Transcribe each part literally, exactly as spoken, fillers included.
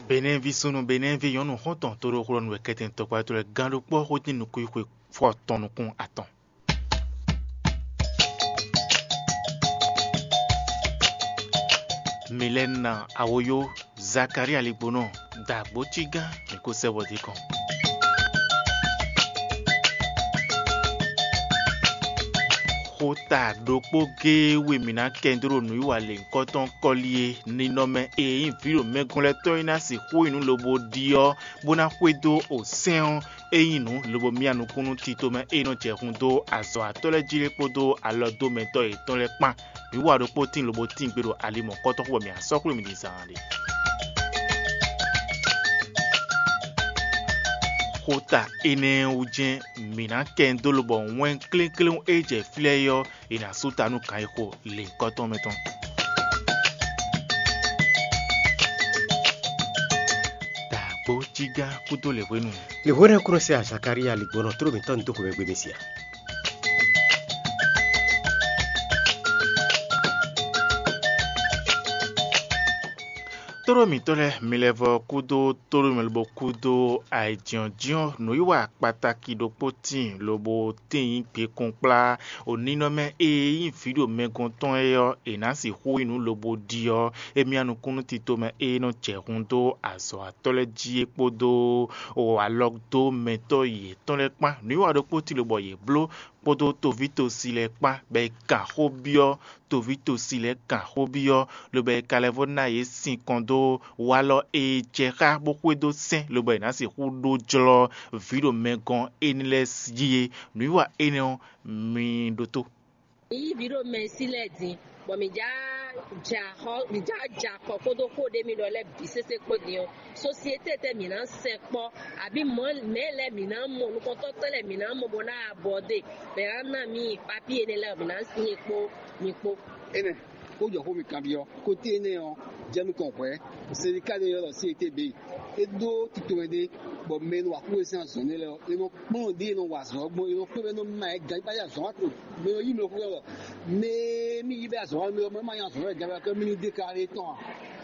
Benɛ́ví súnnu, Benɛ́ví nyɔ̌nu xɔ́ntɔn tóɖóxlɔ́nú wɛ kɛ́tɛn tɔkpá tɔn lɛ́ɛ gán ɖokpó xótín nukúnxwe fɔ atɔn nukún atɔn. Milɛna Awoyo, Zakaria Ligbonɔ, dǎgbócígán mǐ kó sɛ́ bɔ dín kɔn. Xota ɖokpó géé we mǐ ná kɛn dó ɖo nǔwiwa lěhunkɔtɔn kɔ́li e ninɔmɛ e nyí vǐ ɖo mɛ gɔ́n lɛ́ɛ tɔn e ná sixú nyí nǔ lobo ɖi ɔ́, bó ná xwedó osɛ́n ɔ́, é nyí nǔ lobo myá nukún nú tito mɛ e nɔ jɛ hun dó azɔ̌watɔ́ lɛ́ɛ jí é kpódó alɔdómɛtɔ́ yětɔn lɛ́ɛ kpán. Mǐ wa ɖokpó tíin lobo tíin gbe ɖo ali mɔ̌kɔtɔn xú bɔ mǐ ná sɔ́ xwlé mì ɖi zaan ɖe. Xota énɛ́ wú jɛ́n mǐ ná kɛ dó lobɔ wɛn klékléwún e jɛ flɛ́ é ɔ́, è nǎ sú ta nú kan e xo lěhunkɔtɔn mɛ tɔn. Dǎgbó jígá kúdó lěhwenu. Lěhwenu ɔ́ kúnɔ sɛ Zakalía ligbɔnɔ tló mǐtɔn ní dó xomɛ gbe mɛ sia. Tóɖó mǐtɔn lɛ́ɛ, mi lɛ́ vɔ kúdó tóɖó mɛ lobo kúdó ayǐjínjɔ́n nǔwiwa kpataki ɖokpó tíin lobo tíin nyí gbekun kplá. Oninɔmɛ e nyí vǐ ɖo mɛ gɔ́n tɔn é ɔ́, è nǎ sixú nyí nǔ lobo ɖi ɔ́, émí nukúnnú tito mɛ e nɔ jɛ hun dó azɔ̌watɔ́ lɛ́ɛ jí é kpódó alɔdómɛtɔ́ yětɔn lɛ́ɛ kpán. Nǔwiwa ɖokpó tíin lobɔ yě bló kpódó toví tosi lɛ́ɛ kpán, bɔ è kan xó byɔ́ toví tosi lɛ́ɛ kan xó byɔ́, lobo è ka lɛ́ vɔ ná yě sinkɔn dó walɔ e jɛ xá bó xwedó sɛ́n, lobo è nǎ sixú ɖó jlɔ́ vǐ ɖo mɛ gɔ́n énɛ́ lɛ́ɛ jí é. Nǔwiwa énɛ́ ɔ́, mi ɖótó. Mi yí vǐ ɖo mɛ sí lɛ́ɛ din, bɔ mǐ já ja xɔ mǐ já ja kɔ kpódó xó ɖé mi ɖɔ lɛ́ɛ bǐ sésé kpó din ɔ́, sosiete tɛ mǐ ná sɛkpɔ́, abǐ mɔ̌ mɛ̌ lɛ́ɛ mǐ ná mɔ, nukɔntɔ́ tɛ́ lɛ́ɛ mǐ ná mɔ bó ná abɔdé, mɛ ná ná mì papíe énɛ́ lɛ́ɛ mǐ ná sin é kpó mi kpó. Énɛ́, xó jɔ xó mi kanbyɔ́. Kóté énɛ́ ɔ́, jɛ nukɔn hwɛ̌, sendika ɖé ylɔ́ ɖɔ C E T B, é ɖó tito ɛnɛ, bɔ mɛ e nɔ wa kúwe sín azɔ̌ nɛ́ lɛ́ɛ ɔ́, é nɔ kplɔ́n ɖě e nɔ wa azɔ̌ ɔ́ gbɔn, é nɔ kplɔ́n bɔ é nɔ ma ɛ gǎn bá yi azɔ̌ wa to. Mɛ e nɔ yí mɛ xó wɛ, mɛ e mí yí bɛ azɔ̌ wa mɛ ɔ́, mɛ ma nyí azɔ̌ wa gǎn bá kɔ́ mí ní déklaré tɔn a?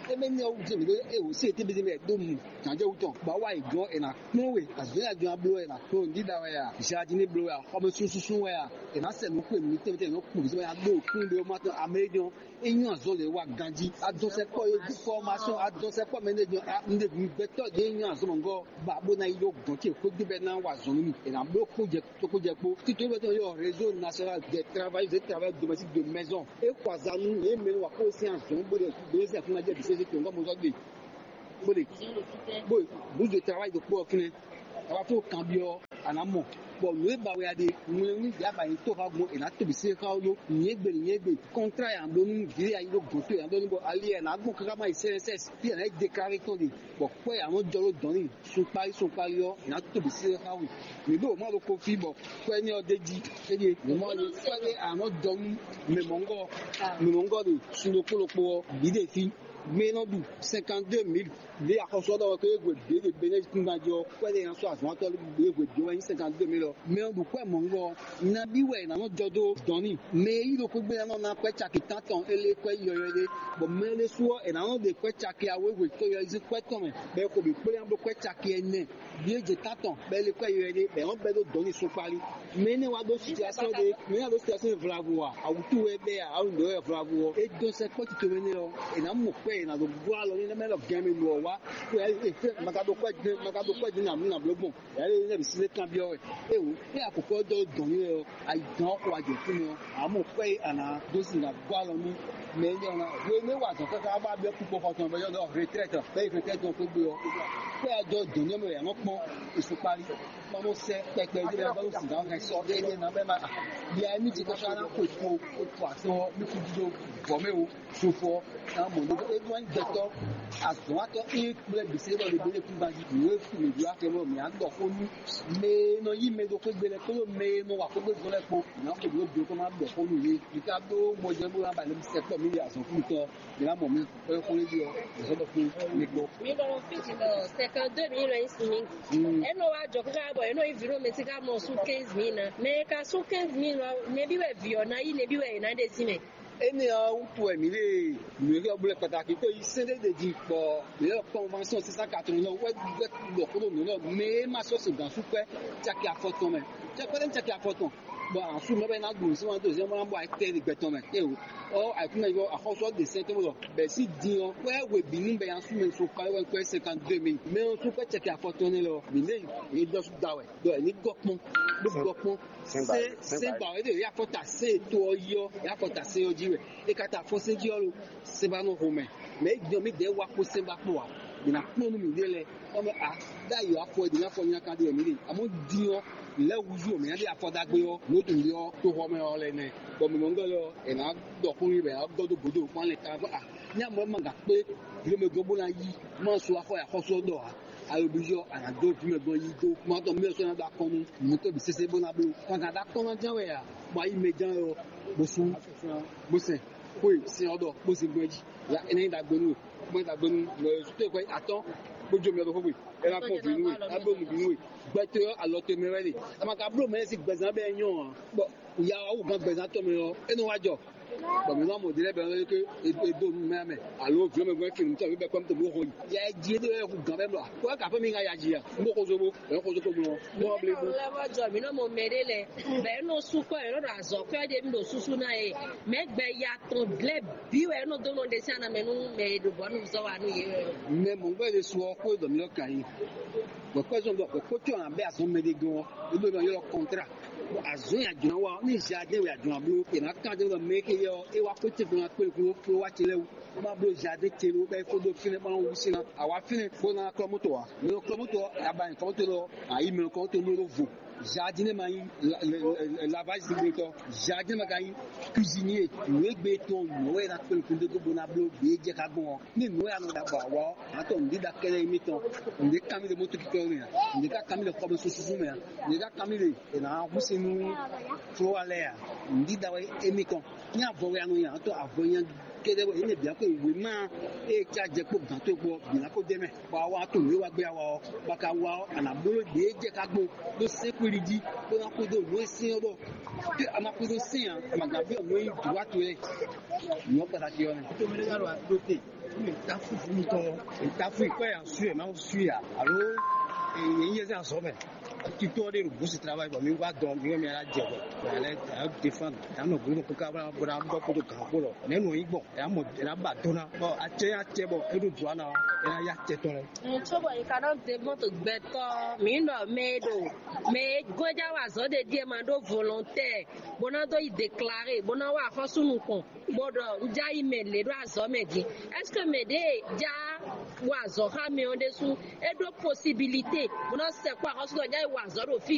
É mɛ ní ɔ́ wútu mǐ ɖó é wǒ C E T B mɛ ɖó mu gǎnjɛwú tɔn, bɔ a wá yi gɔ́n è nǎ kplɔ́n we, azɔ̌ e a jɔ́n a bló wɛ è nǎ kplɔ́n, dídá wɛ a, jardin bló wɛ a, xɔmɛsúnsúnsún wɛ a, è nǎ sɛ nǔ xwe mǐtɛn mǐtɛn è nɔ kplɔ́n mǐtɛn mɛ ná ɖó kún ɖé ɔ́ ma tɔn amɛ é jɔ́n. É nyɔ́ azɔn lě wa ganjí. Adɔnsɛkpɔ́ e dó fɔ́másɔn, adɔnsɛkpɔ́ mɛ ɖé jɔ, a, un ɖe gbɛtɔ́ ɖě nyɔ́ azɔn mɔ̌gɔ́ ba bó ná yi ɖó gɔ̌n ce xwé gbe bɔ é ná wa azɔn nú mì. È nǎ bló kpó jɛ kpó jɛ kpó. Tito bɛ tɔn yɔ réseau national des travailleurs et travailleurs domestiques de maison. É xɔ azan nú yě mɛ wa kó sín azɔn bó ɖe bó ɖe sín afúnná jɛ bǐ sésé tó ŋgɔ́ mɔzɔ́ gbe. Bó ɖe bó bouche de travail ɖokpó ɔ́ fínɛ́. A wá fó kanbyɔ́ a nǎ mɔ. Bɔ nǔ e ba wɛ a ɖe, ŋlɛ́nú ɖě a ba nyí tó xá gbɔn è nǎ to bǐ sésé xá ó ɖó. Nyɛ̌gbe nyɛ̌gbe, kɔntrá ya ɖó nú vǐ ya yi ɖó gɔ̌n towe ya ɖó nú bɔ ali ya nǎ gbɔn káká má yi C N S S, fí ya nǎ yi déclaré tɔn ɖe, bɔ kwɛ́ ya nɔ jɔ ɖó dɔ̌n n'i sunkpáli sunkpáli ɔ́, è nǎ to bǐ sésé xá we. Mǐ ɖo mɔ ɖokpó fí bɔ kwɛ́ énɛ́ ɔ́ d'é jí. Éɖíe mǐ mɔ ɔ́, kwɛ́ ɖé a nɔ jɔ nú mɛ mɔ̌ngɔ́, mɛ mɔ̌ngɔ́ ɖe sun ɖokpó ɖokpó ɔ́ bǐ ɖe fí. Mɛ e nɔ ɖu cinquante-deux mille ɖě axɔ́sú ɔ́ ɖɔ wɛ, ko e hwe bǐ e ɖe Benɛ́zikúngban jí ɔ́, kwɛ́ ɖé e nɔ sɔ́ azɔ̌ ɔ́ tɔn ɖe hwe bǐ ɔ́ wɛ nyí cinquante-deux mille ɔ́. Mɛ e ɖu kwɛ́ mɔ̌ngɔ́ ɔ́, nabí wɛ è nǎ nɔ jɔ dó dɔ̌n n'i? Mɛ e yí ɖokpó gbe ná nɔ ná kwɛ́ caki tántɔn é lé kwɛ́ yɔywɛ ɖé, bɔ mɛ ɖésú ɔ́, è nǎ nɔ ɖe kwɛ́ caki awéhwe tó yɔyízí kwɛ́ tɔn mɛ, bɔ è xo bǐ kplé ná bló kwɛ́ caki ɛnɛ. Bǐ e jɛ tántɔn, bɔ é lé kwɛ́ yɔywɛ ɖé, bɔ è nɔ bɛ́ ɖó dɔ̌n n'i sukpali. Mɛ énɛ́ wá ɖó situasɔ́n ɖé, mɛ énɛ́ wá ɖó situasɔ́n ɖé vlavo a, awǔtu wɛ bɛ́ a, awu nǔɖé wɛ vlavo ɔ́, é dó sɛkpɔ́ tito mɛ nɛ́ ɔ́, è nǎ mɔ kpɛ́ è nǎ ɖo bló alɔ n'i, nɛ́ mɛ lɔ gɛn mɛ nu ɔ́ wá, é fɛ́ ma ka ɖo kwɛ́ din, ma ka ɖo kwɛ́ din nǎ nú nǎ bló gbɔn. Yǎ lé nɛ́ bǐ sísé kanbyɔ́ wɛ. Éwo, é a kɔ̌kɔ́ dɔ́ dɔn n'i wɛ ɔ́, a yi dɔn ɔ́ xo wá jɛ fínɛ́ ɔ́, a mɔ kwɛ́ e a nǎ dó sin nǎ gɔ́ alɔ nú mɛ énɛ́ ɔ́ ná. Hwenu e wa azɔ̌ káká bá byɔ́ kpukpo xɔ tɔn bɔ é ɖɔ retraite, bɔ é yi retraite ɔ́ xwé gbe ɔ́, kwɛ́ a jɔ dɔn n'i mɛ wɛ a nɔ kpɔ́n e sukpali. Kpɔ́n nɔ sɛ́ kpɛkpɛ ɖé lɛ́ɛ bɔ sin nǎ hɛn sɔ énɛ́ ná bɛ ma. Bia émí ti káká ná xwe kpo, kpo asɔ ɔ́, mí kú jí dó vɔ̌ mɛ o. Sofɔ ná mɔ nú é ɖó anyi gbɛtɔ́ azɔ̌watɔ́ e kplé bǐ se ɖɔ le bele kúgban jí nǔ e fu mǐ ɖó akɛ bɔ mǐ á ɖɔ xó nú mɛ e nɔ yí mɛ ɖo xwé gbe lɛ́ɛ kpódó mɛ e nɔ wa xógbé zɔn lɛ́ɛ kpó. Mǐ á xo ɖǒ do kó má ɖɔ xó nú yě. Mǐ ka ɖó mɔjɛ́ bó ná ba lɛ́ sɛkpɔ́ mǐ ɖe azɔ̌ kútɔ́. Mǐ ná mɔ mǐ xó xó lé jí ɔ́, mǐ sɔ́ ɖɔ kpó mǐ kpó. Mi nɔ Fiji nɔ cinquante-deux mille wɛ nyi si mi. Eno wa jɔ kaka bɔ eno yi vi ɖo mɛ ti ka mɔ su quinze mille na. Mɛ ka su quinze mille lɔ, nɛbi wɛ vi ɔ na yi nɛbi wɛ yě na ɖe si mɛ. Énɛ́ ɔ́ wútu wɛ mǐ ɖe nǔ e ɔ́ blɛ́ kpataki kó yi sɛ́n ɖé ɖe jí bɔ mǐ lɛ́ kpɔ́nvɔnsɔ́n six cent quatre-vingts wɛ ɖɔ xó ɖo nǔ nɔ mɛ e ma sɔ́ sin gǎn sú kpɛ́ caki afɔtɔn mɛ. Cɛkpɛ́ ɖé caki afɔtɔn bɔ asú mɛ bɛ ná ɖu nǔ sín wá dó zɛ́n bó ná bɔ ayɛtɛ́ ɖe gbɛtɔn mɛ. Éeǒ, ɔ ayǐkúngban yɔ axɔ́sú ɔ́ ɖe sɛ́n tɔn bɔ bɛ̌ sí din ɔ́ wɛ hwebǐnu bɛ nya sú mɛ sɔn kpá wɛ kpɛ́ cinquante-deux mille. Mɛ ɔ́ sú kpɛ́ caki afɔtɔn nɛ́ lɔ mǐ lɛ́ yě dɔ sú da wɛ ɖɔ è ní gɔ́ kpɔ́n bó gɔ́ kpɔ́n. Sɛ́n ba- sɛ́n ba- sɛ́n ba wɛ ɖe yafɔta sɛ́n to ɔ́ yi ɔ́, yafɔta sɛ́n ɔ́ jí wɛ. E ka ta afɔ sɛ́n jí ɔ́ lo, sɛ́n ba nɔ xo mɛ. Mɛ é gbɔn mì dɛɛ wa kpó sɛ́n ba kpó ǎ. Mǐ ná kplɔ́n nú mǐɖée lɛ́ɛ. Ɔ́ mɛ a ɖ'ayǐ afɔ e ɖě ná fɔ nyaka ɖe wɛ mǐ ɖe. Amɔ̌ din ɔ́, lɛ̌ húzú ɔ́, mǐ ná ɖe afɔ ɖagbe ɔ́, nǔ ɖu ɔ́, toxɔ mɛ ɔ́ lɛ́ɛ nɛ́. Bɔ mǐ mɔ ŋgɔ́ lɛ́ɛ ɔ́, è nǎ ɖɔ xó nyi bɔ è nǎ gɔ́ dó gǔdo kpɔ́n lɛ ta bɔ a ní amɔ̌ ma gǎn kpé vǐɖomɛgɔ́ bó ná yí má sɔ axɔ axɔ́sú ɔ́ ɖɔ ǎ. Alɔbíyɔ a nǎ dó vǐ mɛ gbɔn yí dó má tɔn mɛ sɔ́ ná ɖó akɔn nú nǔ tɔn bǐ sésé bó ná bló. Kan ka ɖó akɔn ná ján wɛ a? Bɔ ayi mɛ ján wɛ ɔ, bó sú bó sɛn xó e sɛn ɔ́ ɖɔ bó sin gbɔn jí. Ya é ná nyí ɖagbe nú we, bó nyí ɖagbe nú mɛ sutó e atɔ́n bó jó mɛ ɖokpó gbe. É ná kpɔn vǐ nú we, é ná bló nǔ vǐ nú we. Gbɛtɔ́ ɔ́ alɔ towe mɛ wɛ ɖe. A ma ka bló mɛ e sín gbɛzán bɛ́ nyɔ́ ǎ. Bɔ ya wá wú gán gbɛzán tɔn mɛ ɔ́, é nɔ wá jɔ. Bɔ mǐ nɔ mɔ ɖě lɛ́ɛ bɛ ɔ́ ké e dó nǔ mɛ mɛ alo vǐ mɛ gbɛ́ kinu tɔn mǐ bɛ kpɛ́ mítɔn bó xɔ yi. Ya jí é ɖo hu gǎn bɛ mlɔ. Kó ka fɛn mi ŋa ya jí ya. N bó xozó bó, ɛ xozó ko mlɔ. Bó ɔ blé bó. Lɛ vɔ jɔ mǐ nɔ mɔ mɛ ɖé lɛ. Bɛ é nɔ sú kɔ é nɔ ɖo azɔ̌ kɔ é ɖe mí ɖo súsú ná é. Mɛ gbɛ ya tɔn lɛ bí wɛ é nɔ dó nɔ ɖe sí anamɛ nú mɛ e ɖo bɔ nú zɔ wa nú yě wɛ. Mɛ mɔ̌gbɛ́ ɖé su ɔ́ xó e ɖɔ mǐ lɔ ka yi. Bɔ kpɛ́ zɔn bɔ kpɛ́ kó tɔ́ ǎ bɛ́ azɔn mɛ ɖé gɔ́n ɔ́, é ɖó nɔ ylɔ́ kɔntrá. Azɔn ya jɔn wa ní jardin wɛ jɔn bló. E ma kan de nɔ mɛ ke yɔ e wa ko te gbɔn akpé ko ko wa te lɛ wu. Ma bló jardin te lo bɛ ko do fínɛ ma wu sina. A wa fínɛ ko na klɔ moto wa. Mɛ klɔ moto a ba klɔ moto lɔ. Ayi mɛ klɔ moto lo vo. Jardin ma yi lavage de to. Jardin ma ka yi cuisinier. Nwe gbe tɔn nwe na kpé ko de ko bona bló be je ka gbɔn. Ní nǔ e a nɔ ɖa bɔ awɔ ɔ́, a tɔ nǔɖiɖa kɛ́ɖɛ́ émítɔn. Nǔɖé ká mì ɖe mɔ̌ tɔn kíkɔ mɛ ǎ. Nǔɖé ká ká mì ɖe xɔmɛ súsú mɛ ǎ. Nǔɖé ká ká mì ɖe è nǎ hu sin nú folówa lɛ́ɛ ǎ. Nǔɖiɖa wɛ émítɔn. Ní avɔ wɛ a nɔ nya tɔ avɔ nya kɛ́ɖɛ́ wɛ énɛ́ bǐ ko wěma e ca jɛ kpó gǎn towe kpó bǐ ná ko dɛ mɛ. Bɔ a wa to nǔ e wa gbé a wa ɔ́, bɔ a ka wa ɔ́, a nǎ bló ɖě jɛ ká gbɔn ɖó sɛ́nkpéɖi jí, bó ná kúdó nǔ e sɛ́n ɔ́ ɖɔ. Ke a ma kúdó sɛ́n ǎ, a ma gǎn byɔ́ nǔ e nyí dǔwá towe lɛ́ɛ. Nyɔ̌ kpataki ɔ́ nɛ. Tomele ka ɖo aɖo te, mi ta fu fu mitɔn, mi ta fu ikɔ ya su yɛ ma su ya, alo e yɛ yɛ zan zɔ mɛ. Titɔ ɖe ɖo busi travail bɔ mi wa dɔn mi wɛ mi ala jɛ bɔ bɔ ala ala defan ta nɔ gbolo ko ka bɔ na bɔ kodo gan ko lɔ ne nɔ yi gbɔn ya mɔ ya ba dona bɔ acɛ ya cɛ bɔ e ɖo dua na ya ya cɛ tɔn lɛ. Ŋutsu bɔ yi ka nɔ de mɔto gbɛtɔ mi nɔ mɛ ɖo mɛ gɔja wa zɔ de die ma ɖo volontaire bona do yi déclarer bona wa xɔsu nukɔn. Bó ɖɔ un já yi mɛ lě ɖo azɔ̌ mɛ din. Est-ce que mɛ ɖě e já wa azɔ̌ xá mɛ ɔ́ ɖésú é ɖó posibilité bó ná sɛkpɔ́ axɔ́súɖɔ já yi wa azɔ̌ ɖo fí